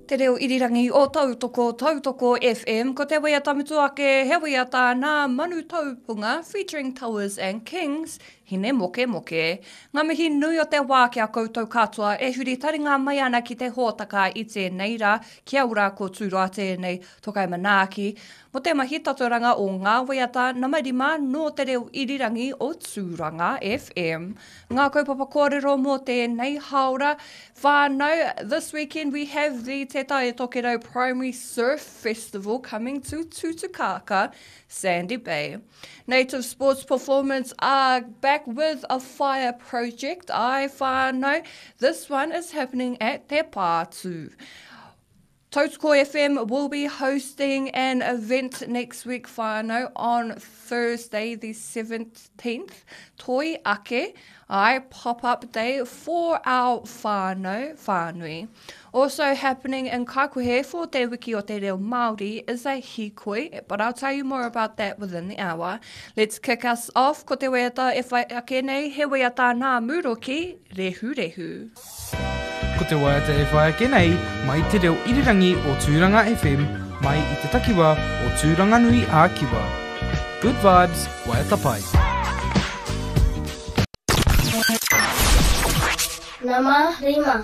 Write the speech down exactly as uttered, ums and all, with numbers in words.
Te reo irirangi o Tautoko, Tautoko FM, ko te waiata mutu ake, he waiata nā Manu Taupunga featuring Towers and Kings, Hine Moke Moke. Ngā mihi nui o te wā ki a koutou katoa e huri taringa mai ana ki te hōtaka i tēnei rā, kia ora ko Tūroa tēnei, Tokai Manaaki, mo te mahi taturanga o ngā waiata nama rima nō te reo irirangi o Tūranga FM. Ngā kaupapa kōrero mō tēnei haora whānau, this weekend we have the Te Tai Tokerau Primary Surf Festival coming to Tutukaka, Sandy Bay. Native Sports Performance are back with a fire project, I whānau. This one is happening at Te Pātū. Tautoko FM will be hosting an event next week, whānau, on Thursday the seventeenth. Toi Ake, I pop-up day for our whānau, whānui. Also happening in Kaikohe for Te Wiki o Te Reo Māori is a hikoi, but I'll tell you more about that within the hour. Let's kick us off. Ko te waiata e whai ake nei, he waiata nā Muroki, Rehu Rehu. Ko te waiata e whai ake nei, mai te reo irirangi o Tūranga FM, mai i te takiwa o Tūranganui a Kiwa. Good vibes, waiata pai. Nama rima.